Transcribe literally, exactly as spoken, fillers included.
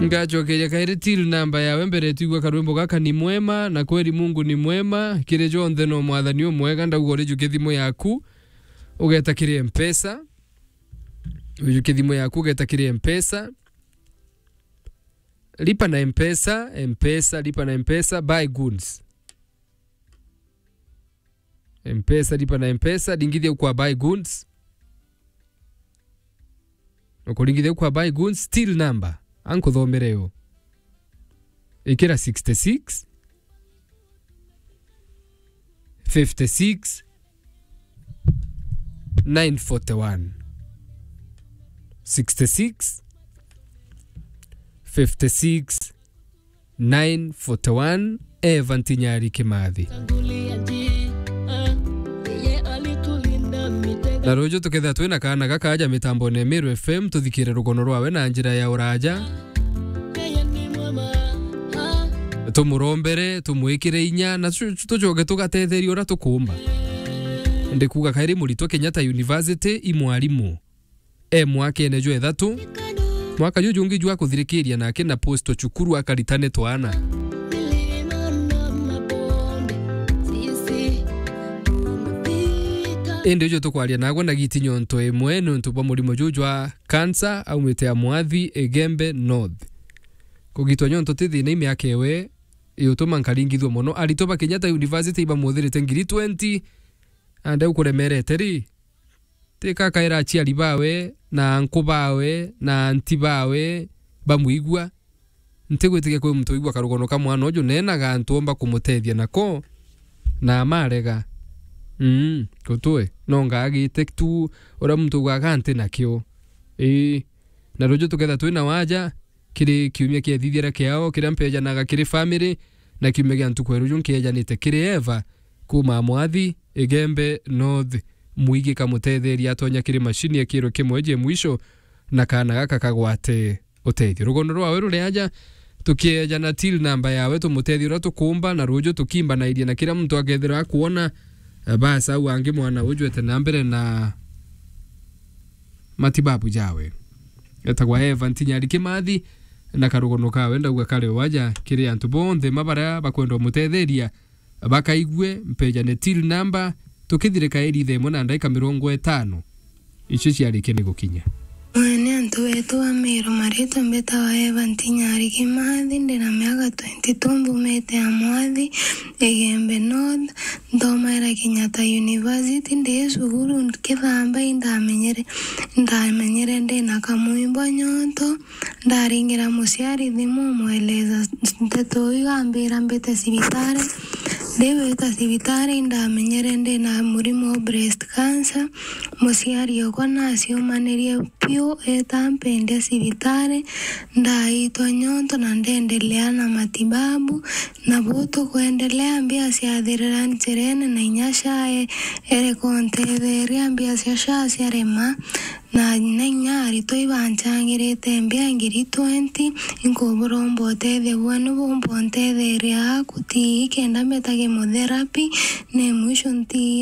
Ngacokeria kairi till number yawe mbere twigua karwimbo gaka ni mwema, na kweli Mungu ni mwema, kiri jonthe no mwathani umwega, ndauga urijuke thimu yaku, ugeta kiri Mpesa, ujuke thimu yaku, ugeta kiri Mpesa, lipa na Mpesa, Mpesa, lipa na Mpesa, buy goods. Mpesa, lipa na Mpesa, ringithia kwa buy goods. Ukuringithia kwa buy goods, till number. Ankuthomere yo. Ikira sixty-six, fifty-six, nine forty-one. Sixty-six, fifty-six, nine forty-one, Eva Ntinyari Kimathi. Na ruju tukethira twina kaana gaka aja mitambone ya Meru F M, tuthikire rugono rwawe na njira ya uraja. Tumurombere, tumwikire inya, na tu-, tucoke tugatetheria uria tukumba. Ndikuga kairi muritwa Kenyatta University i mwarimu. E mwakene jwa ithatu. Mwaka juju jungi jwa kuthirikiria nake na posto cukuru akaritane twana. Indi uju tukwaria nagwe na giti nyonto imwe niuntu bwa murimo juju jwa cancer aumite ya Mwathi, Igembe North. Kugitwa nyonto ti thina i miaka iwe iutuma nkaringithua mono. Aritwa ba Kenyatta University ibamuthirite ngiri twenty, ande ukuremerete ri? Tika akaira aciari bawe, na anku bawe, na anti bawe bamwigua. Ntigwitikia kwi muntu wigua karugono ka mwana uju, nenaga antu omba kumutethia nako, na amarega. Mm, gutwe, no ngagite tu uria muntu ugaga nti nakio. Ii, na ruju tuketha twina waja, kiri kiumia kiethithira kiao kiria mpejanaga kiri family, na kiumia gia ntuku ya ruju nkejanite kiri Eva kuuma Mwathi, Igembe North, mwigi kamutetheria atonya kiri mashini ekirwe kimwe je mwisho, na kaana gaka kagwate utethio. Rugono rwawe ruri aja, tukiejana till number yawe, tumutethie uria tukumba, na ruju tukimbanairie na kira muntu akethirwa akuona, eh, basi au angi mwana uju ete na mbere na matibabu jawe. Etagwa Eva Ntinyari Kimathi, na karugono kawe ndauga kari waja kiri antu bonthe ma baria bakwenda umutetheria, bakaigue, mpejane till number, tukithirika iri thaa imwe na ndaika mirongo itano. Icio ciarikia ni gukinya. Mwene antu betu ba Meru, maritwa mbitawa Eva Ntinyari Kimathi, ndina miaka twenty-two, mbumite ya Mwathi, Igembe North, nthomaira Kenyatta University, ndi cukuru nkithamba, indamenyere, indamenyere ndina kamwimbo nyonto, ndaringira muciari thimu, umweleza nteto iu, ambira mbite cibitari. Ndiwita cibitari, indamenyere ndina murimo wa breast cancer. Muciari okwa naciumanirie piu, eta mpendia cibitari, ndaitwa nyonto na ndendelea na matibabu, na buu tukwendelea, mbia ciathirira njirene, na inya SHA e-, ere kuntetheria, mbia cia SHA ciarema, na, na inya aritwa ibancangirite mbia ngiri twenty, inkubura umba utethia bwenu bumba untetheria aku tii kenda mbeta chemotherapy, ne mwisho ntii